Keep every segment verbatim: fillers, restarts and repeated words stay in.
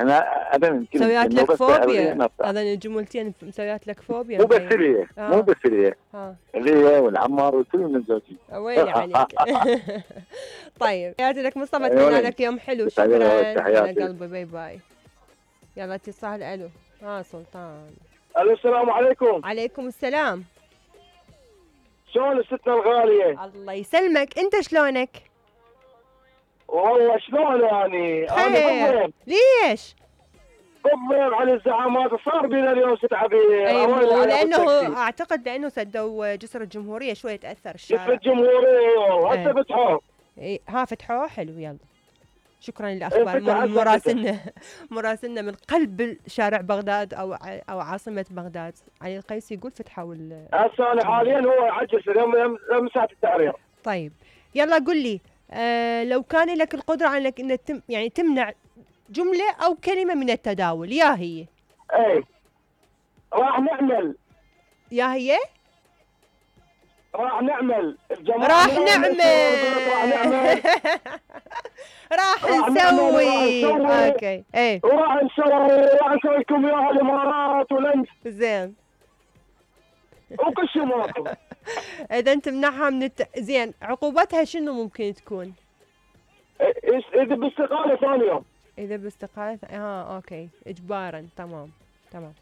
احنا ابدا مسويات لك فوبيا، هذا الجملتين مسويات لك فوبيا. مو بس هي آه. مو بس هي آه. هي والعمار وكلهم متزوجين. ويلي عليك. طيب تحياتي لك مصطفى، اتمنى لك يوم حلو. شكرا على قلبي. باي باي. يلا اتصال. الو. ها سلطان. الو السلام عليكم. عليكم السلام. شلون ستنا الغالية؟ الله يسلمك، انت شلونك؟ والله شلون يعني؟ انا بالضيم. ليش؟ بالضيم على الزعامات، صار بينا اليوم ست عبير. ايوه لانه اعتقد لانه سدوا جسر الجمهورية شوي تاثر الشارع. جسر الجمهورية والله هسه فتحوه. اي ها فتحوه. حلو. يلا شكرا للاخبار. مراسلنا مراسلنا من قلب شارع بغداد او او عاصمه بغداد علي القيسي يقول فتحوا ال هسه انا حاليا هو على الجسر يوم يوم ساعه التحرير. طيب يلا قل لي، آه لو كان لك القدره على انك انك تم يعني تمنع جمله او كلمه من التداول، يا هي؟ اي راح نعمل. يا هي؟ راح نعمل الجماعة راح نعمل راح نعمل راح نسوي. اوكي. ايه وراح نسوي راح نسوي لكم اياها الامارات ولنس. زين. وكل شيء مراقب. اذا تمنعها من الت... زين عقوبتها شنو ممكن تكون؟ اذا باستقالة ثاني يوم. اذا باستقالة اه اوكي اجبارا. تمام تمام.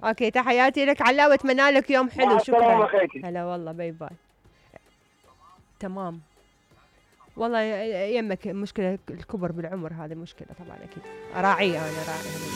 اوكي تحياتي لك علاء واتمنى لك يوم حلو. شكرا. هلا والله. باي باي. تمام. والله يمك مشكلة الكبر بالعمر، هذه مشكلة طبعا اكيد. راعية انا راعية.